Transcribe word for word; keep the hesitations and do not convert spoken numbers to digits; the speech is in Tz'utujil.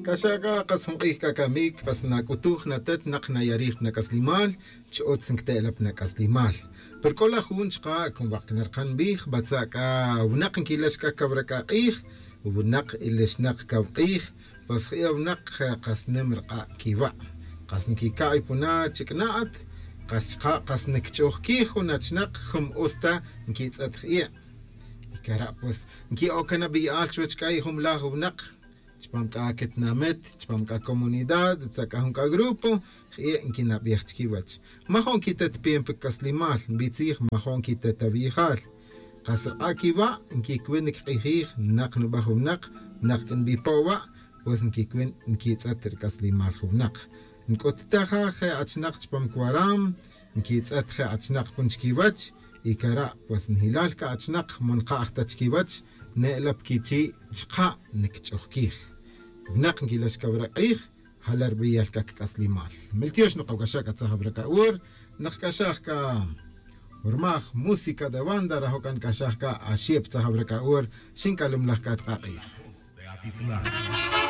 C'axa c'a kas jun k'ij c'a camic kas nac'utuj natet nak nayarij pa nac'aslimal. Chi utz nquite'la pa nac'aslimal. Pero c'o la jun chka' cun wak' cana rkan nbij batza' c'a winak nquilex c'a cawra c'a k'ij. Winak ilex nak caw k'ij. Pues je' awnak kas nim rk'a' quiwa'. Kas nquica'y puna chic'na'at. Kas chka' kas nquich'uj quij jun achnak jun us ta nquitz'et je'. Y cara' pues nqui'oc can abi'al chuwech c'a y jun laj winak chupam c'a quetinamit chupam c'a comunidad tza c'a jun c'a grupo. Je' nquinabij chiquiwech. Majo' nquitet pimpi c'aslimal nbitzij majo' nquitet awiyjal. Kas rk'a' quiwa' nquicuin nquik'ijij nak nubaj winak. Nak c'a nbipo' wa' pues nquicuin nquitz'et rc'aslimal jun winak. Nc'ut taja je' achnak chupam cuaram nquitz'et je' achnak jun chiquiwech. Y cara' pues njilal c'a achnak mo nka'j ta chiquiwech. Ne'la pa quichi' chka' nquich'uj quij. Winak nquilex cawra k'ij. Jala' rbeyal c'a cac'aslimal. Miltiox nokawc'axaj c'a tzaj awra c'a ur. Nak c'axaj c'a urmaj música de banda rajo' c'a nc'axaj c'a axip tzaj awra c'a ur. Xinc'alumlaj c'a tk'a k'ij.